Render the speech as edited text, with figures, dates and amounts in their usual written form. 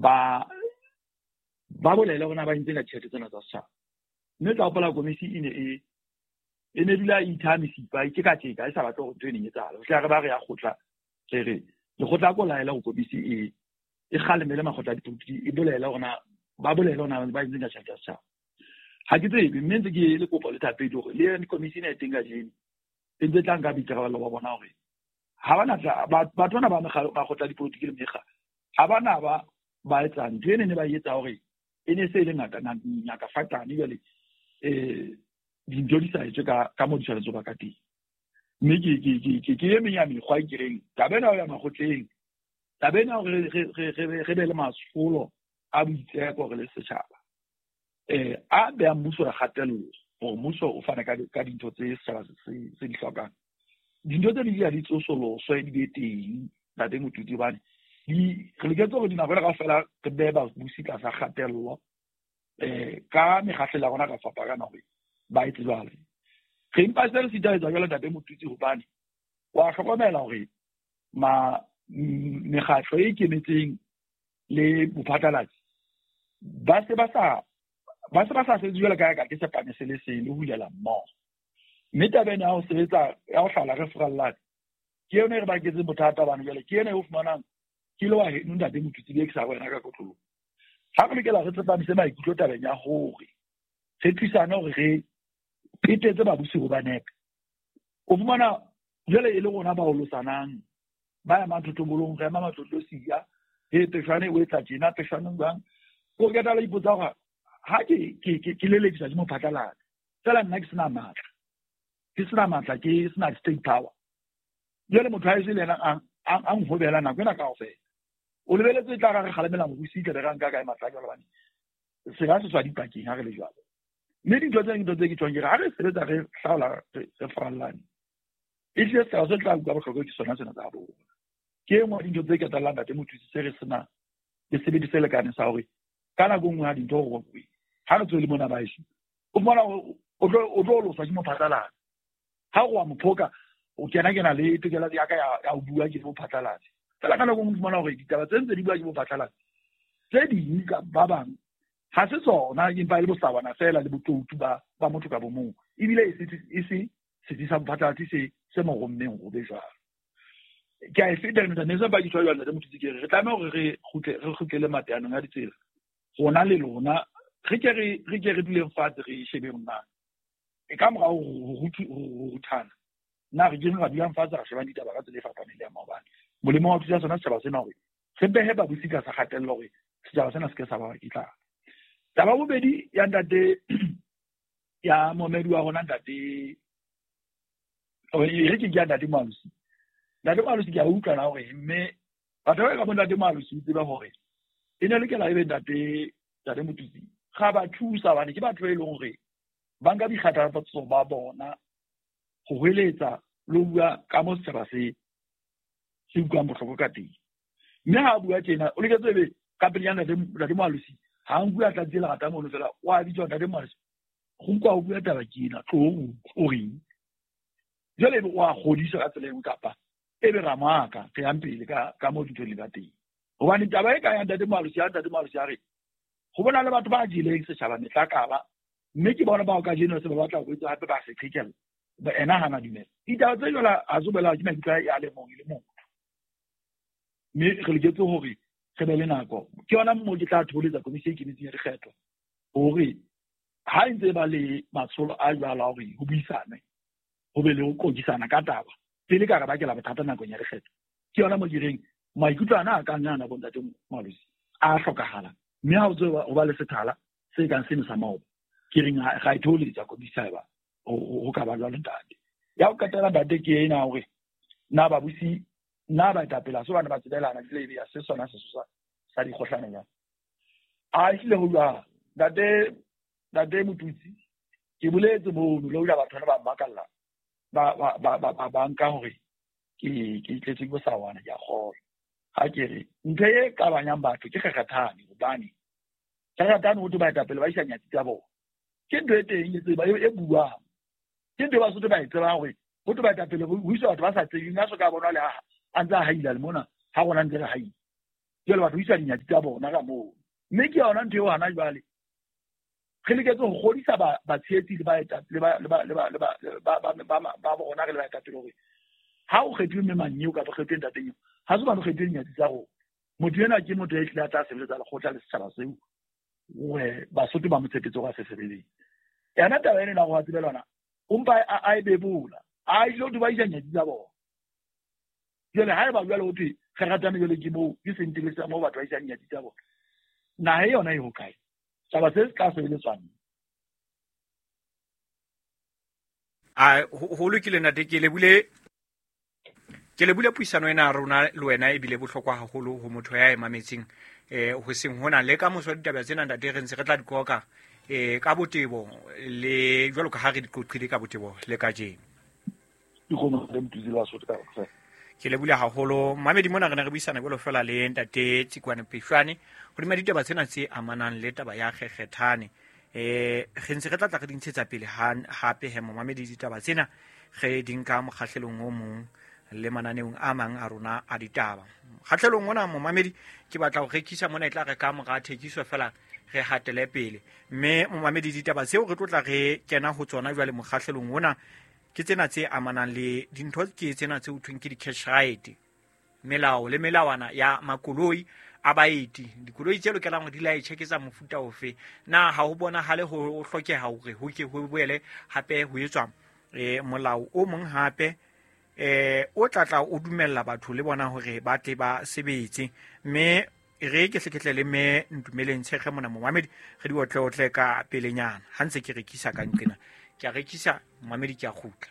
Ba ba bolele hore na ba entse ka ditjhelete tsena tsa setjhaba. Mme tla hopola komisi e ne e e ne dula e ithaha mesipa e tjeka tjeka e sa batle hore ntho e neng e etsahala. Ho fihla re ba re ya kgotla re re lekgotla ko laela hore komisi e e kgalemele makgotla a dipolotiki e bolele hore na ba bolele hore na ba entse ka tjhelete ya setjhaba. Ha ke tsebe mme ntse ke le kopo le thapedi hore le yone komisi ena e teng kajeno e ntse tla nka boikarabelo ba bona hore ha ba na tla batho bana ba makgotla a dipolotiki le mekga ha ba na ba ba etsa ntho ene ne ba etsa hore e ne se e le ngata ngaka fatane jwale dintho di sa etswe ka ka mo di tshwanetse ba ka teng. Mme ke ke ke ke ke e meng ya mekgwa e ke reng taba ena ya makgotleng, taba ena hore re be le matsholo a boitseko re le setjhaba a behang mmuso re kgatello hore mmuso o fane ka dintho tse setjhaba se di hlokang. Dintho tse di ya di tsosoloswe di be teng ntate Motuti hobane di re loketse hore dinako ena kaofela re behe babusi tlasa kgatello ka mekgahlelo ya rona ka fapana hore ba etse jwalo. Re mpa se re sita etsa jwalo ntate Motuti hobane wa hlokomela hore ma mekgatlo e ikemetseng le bophatlalatsi ba se ba sa ba se ba sa sebetse jwalo ka ka ke sepane se le seng le hulela mmoho. Mme taba ena ya ho sebetsa ya ho hlala re furallane ke yona e re baketseng bothata bana jwale ke yona e o fumanang ke le wa heno ntate Motuti be ke sa wena ka kotloloho. Ha re lokela re tsepamise maikutlo tabeng ya hore re thusane hore re petetse babusi ho ba nepe. O fumana jwale e le rona ba olosanang ba emang thothobolong re ema matlotlo siya he peshwane o etsa tjena peshwane jwang o qeta la ipotsa hore ha ke ke ke ke lelekisa ke mophatlalatsi fela nna ke sena matla ke sena matla ke sena state power jwale motho ha ese le yena a nhobela nako ena kaofela o lebeletse tla ra re kgalemela mobusi tla be ra nka kae matla jwalo bane se ka se tswa dipakeng ha re le jwalo. Mme dintho tse dintho tse ke tjhong ke re ha re sebetsa re hlaola re farallane e hlile setjhaba se tla utlwa bohloko ke sona sena tsa rona. Ke e nngwe ya dintho tse ketellang ntate Mothusi se re sena le sebedi se lekaneng sa hore ka nako e nngwe ha dintho gore ha re tswele mona baeso o fumana o tlo loswa ke mophatlalatsi ha o wa mophoka o kena kena le tokelo ya ka ya ho bua ke mophatlalatsi fela ka nako e nngwe o fumana hore ditaba tse ntse di bua ke mophatlalatsi tse ding ka ba bang ha se tsona empa e le bosawana fela le botoutu ba ba motho ka bomong ebile e se setsi sa mophatlalatsi se se mo rommeng go be jwalo. Ke a e feta eno ne se ba ditshwa jwalo ntate Mothusi ke re re tlameha hore re kgutle re kgutlele mateanong a ditsela rona le lona re ke re re ke re duleng fatshe re shebeng na e ka morao ho ruthana na re ke ra dulang fatshe ra shebang ditaba ka tsela e fapaneng le ya maobane molemo wa thusa sona setjhaba sena hore re behe babusi tlasa kgatello hore setjhaba sena se ke sa ba ke tlala. Taba bobedi ya ntate ya momedi wa rona ntate re ke ke ya ntate Moalosi. Ntate Moalosi ke a utlwa na hore mme batho ba ka bo ntate Moalosi o tseba hore e ne lokela ebe ntate ntate Motutsi ga ba thusa hobane ke batho e leng hore ba nka boikgathatso ba bona ho hweletsa le ho bua ka mo setjhaba se se utlwang bohloko ka teng. Mme ha a bua tjena o loketse ebe ka pelenyana ntate ntate Moalosi ha nkuwe a tlatse lerata mono fela o a bitswa ntate Moalosi go utlwa o bua taba ke ena tlo o reng jwale ebe o a kgodisa ka tsela e nngwe kapa ebe ra moaka re yang pele ka ka mo dintho di ka teng. Hobane taba e ka ya ntate Moalosi ya ntate Moalosi a re go bona le batho ba jeleng setjhaba metlakala mme ke bona bao kajeno se ba batla ho etsa hape ba se qhekella ba ena hana dumela ditaba tse jwalo ha se bolela ke maikutlo a le mong e le motho. Mme re loketse hore re be le nako ke yona mo ke tla thoholetsa komisi e ikemetseng ya dikgetho hore ha e ntse ba le matsholo a jwalo a hore ho buisanwe ho be le ho qokisana ka taba pele ka re bakela bothata nakong ya dikgetho ke yona mo ke reng maikutlo ana a kang ana bo ntate Moalosi a hlokahala mme ha o tse ho ba le sethala se kang seno sa maoba ke reng ga e thoholetsa komisi haeba ho ka ba jwalo ntate. Ya ho qetela ntate ke ena hore na babusi na baetapele ha se bane ba tsebelana ebile ebe ya se sona sesosa sa dikgohlano jwang. A ehlile ho jwalo ntate ntate Motutsi ke boletse mono le hoja batho bana ba mmakalla ba ba ba ba nka hore ke ke tletse ke bosawana ke a kgolwa. Ha ke re ntho e qabanyang batho ke kgekgethane hobane kgekgethane ho thwe baetapele ba isa nyatsi tsa bona. Ke ntho e teng e tseba e buang. Ke ntho e Basotho ba e tsebang hore ho thwe baetapele ho iswa batho ba sa tsebeng a so ka bonwa le a ntse a haila le mona ha rona ntse re haila. Jwale batho isa dinyatsi tsa bona ka moo. Mme ke yona ntho eo hana jwale re loketse ho kgodisa batshehetsi le ba bona re le baetapele hore ha o kgethuwe mme Manyeo kapa kgethuwe ntate Nyeo, ha se hobane o kgethuwe dinyatsi tsa rona. Motho enwa ke motho ya hlile a tla sebeletsa lekgotla le setjhaba seo hore Basotho ba mo tshepetse hore a se sebeletse. Yona taba ena ya hore wa tsebe lona, o mpa a e bebola, a ile ho ba isa nyatsi tsa bona. Jwale ha eba jwale ho thwe re ratane jwale ke moo ke sentele sa moo batho ba isang nyatsi tsa bona. Naha e yona e hokae? Taba se se tla sebeletswang. A ho lokile ntate, ke lebule ke lebule puisano ena ya rona le wena ebile bohlokwa haholo ho motho ya e mametseng ho seng hona le ka moso ditaba tsena ntate re ntse re tla di qoqa ka botebo le jwalo ka ha re di qoqile ka botebo le kajeno. Ke lebule haholo mamedi mona re ne re buisana jwalo fela le ntate Tsikwane Peshwane hodima ditaba tsena tse amanang le taba ya kgekgethane. Re ntse re tla tla re di ntshetsa pele hape he momamedi ditaba tsena re di nka mokgahlelong o mong le mananeong a mang a rona a ditaba. Mokgahlelong ona momamedi ke batla ho rekisa mona e tla re ka mora thekiso fela re hatele pele. Mme momamedi ditaba tseo re tlo tla re kena ho tsona jwale mokgahlelong ona ke tsena tse amanang le dintho ke tsena tse ho thweng ke di-cash right, melao le melawana ya makoloi a baeti, dikoloi tse lokelang hore di laetjhe ke tsa mofuta ofe. Na ha ho bonahale ho hlokeha hore ho ke ho boele hape ho etswa molao o mong hape o tla tla o dumella batho le bona hore ba tle ba sebetse. Mme re ke hleketle le mme Ntumeleng Tshekge mona momamedi re di otleotle ka pelenyana ha ntse ke rekisa ka nqena. Ke a rekisa momamedi, ke a kgutla.